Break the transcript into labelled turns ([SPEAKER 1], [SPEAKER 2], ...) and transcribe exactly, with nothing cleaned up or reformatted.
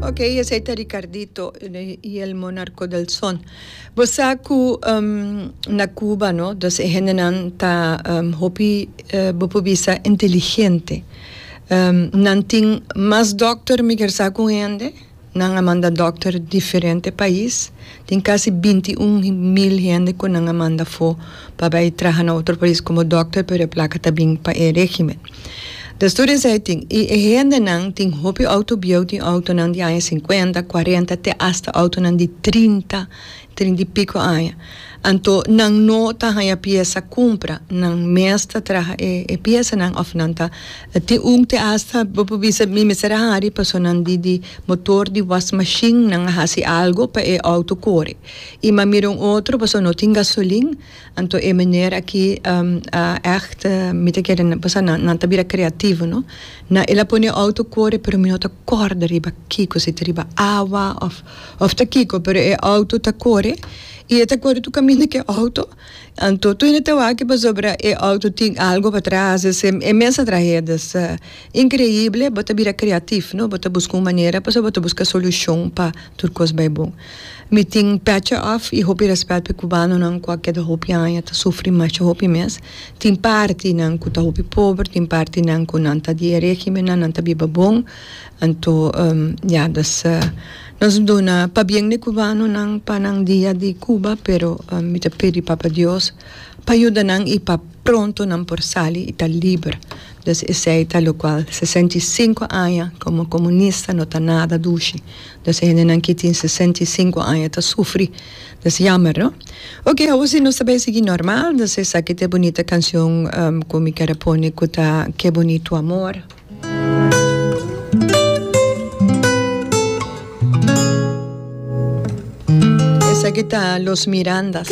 [SPEAKER 1] Ok, esei ta Ricardito y el Monarco del Son. Bo sa ku um, na Cuba, no? Dus e hendenan ta um, hopi uh, bo por bisa inteligente. Um, nan tin mas dokter mi kier sa ku hende. Nan a manda dokter diferente pais. Tin kasi binti un mil hende ku nan a manda afó pa bai traha na otro pais komo dokter, pero e plaka ta bin pa e regimen. Dus tur esei tin. I e hendenan tin hopi outo bieu, tin outonan di aña sinkuenta, kuarenta, te asta outonan di trinta, trinta i piko aña. Anto nan no ta haña piesa kumpra, nan mes ta traha e e piesanan òf nan ta tin un te asta bo por bisa mi mester a hari paso nan di di motor di wasmashin nan a hasi algo pa e outo kore. I m'a mira un otro paso no tin gasolin, anto e meneer aki a ègt mi ta kere paso nan nan ta bira kreativo no. Na el a pone e outo kore pero mi no ta kòrda riba kiko si ta riba awa òf òf ta kiko pero e outo ta kore. I e ta kore tur kaminda ku e outo. Anto tur hende ta wak pasobra e outo tin algo patras, es e mes a trahe. Dus inkreible, bo ta bira kreatif, no? Bo ta buska un manera pasobra bo ta buska solushon pa tur kos bai bon. Mi tin pètje òf i hopi rèspèt pa e kubanonan ku a keda hopi aña ta sufri masha hopi mes. Tin partinan ku ta hopi pober, tin partinan ku nan ta di e regimennan, nan ta biba bon. Anto ya, dus nos duna pabien di cubanonan pa nan dia di Cuba, pero mi ta pidi Papa Dios pa yuda nan y pa pronto nan por sali y ta liber. Dus esey ta locual sesenta y sinku aña como comunista no ta nada dushi. Dus e hendenan ki tin sesenta y sinku aña ta sufri. Dus jammer no. Ok, awor si nos ta bay sigui normal, dus esaki ta e bunita cancion cu mi kier a pone cu ta Ke Bonito Amor. Esaki ta Los Mirandas.